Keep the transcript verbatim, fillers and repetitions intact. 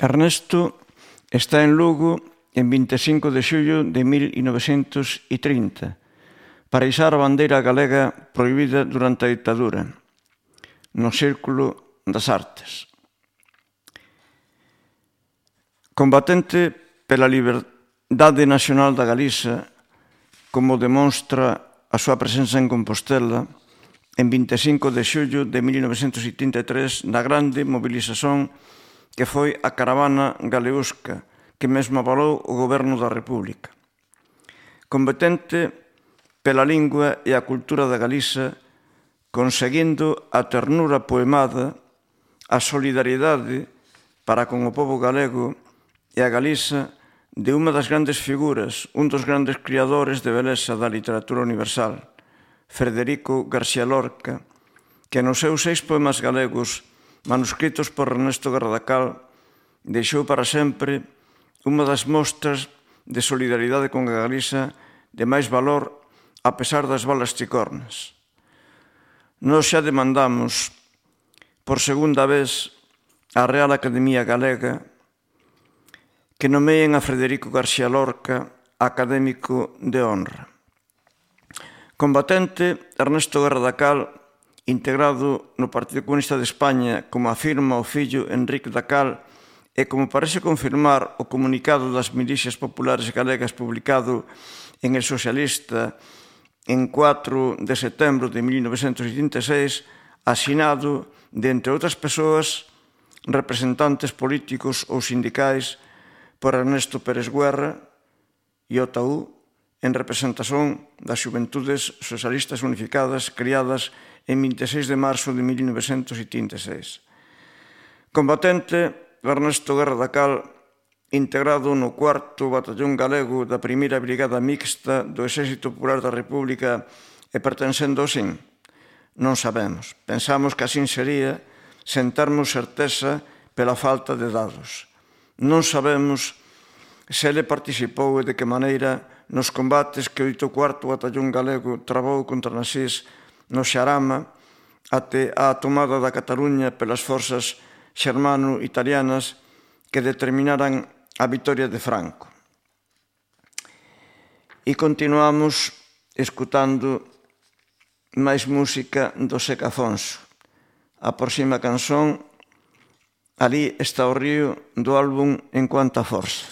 Ernesto está en Lugo en vinte e cinco de xullo de mil novecentos e trinta para izar a bandeira galega prohibida durante a ditadura no Círculo das Artes. Combatente pela liberdade nacional da Galiza, como demonstra a súa presenza en Compostela en vinte e cinco de xullo de mil novecentos e trinta e tres na grande mobilización que foi a caravana galeusca que mesmo avalou o Goberno da República. Combatente pela lingua e a cultura da Galiza, conseguindo a ternura poemada, a solidariedade para con o pobo galego e a Galiza de unha das grandes figuras, un dos grandes criadores de beleza da literatura universal, Federico García Lorca, que nos seus seis poemas galegos, manuscritos por Ernesto Gardacal, deixou para sempre unha das mostras de solidaridade con a Galiza de máis valor a pesar das balas chicornas. Nós xa demandamos por segunda vez a Real Academia Galega que nomeen a Federico García Lorca académico de honra. Combatente, Ernesto Gardacal, integrado no Partido Comunista de España, como afirma o fillo Enrique Dacal, e como parece confirmar o comunicado das milicias populares galegas publicado en El Socialista en cuatro de setembro de mil novecentos setenta e seis, asinado de, entre outras persoas, representantes políticos ou sindicais por Ernesto Pérez Guerra e o T A U en representación das Xuventudes Socialistas Unificadas criadas en vinte e seis de marzo de mil novecentos setenta e seis. Combatente, Ernesto Gardacal, integrado no cuarto Batallón Galego da primeira Brigada Mixta do Exército Popular da República e pertencendo ao S I N? Non sabemos. Pensamos que así sería sen termos certeza pela falta de dados. Non sabemos se ele participou e de que maneira nos combates que o oitavo cuarto Batallón Galego travou contra nazis no Xarama até a tomada da Cataluña pelas forzas xermano-italianas que determinaran a vitoria de Franco. E continuamos escutando máis música do Seca Afonso. A próxima canción, Alí está o río, do álbum En Cuanta Forza.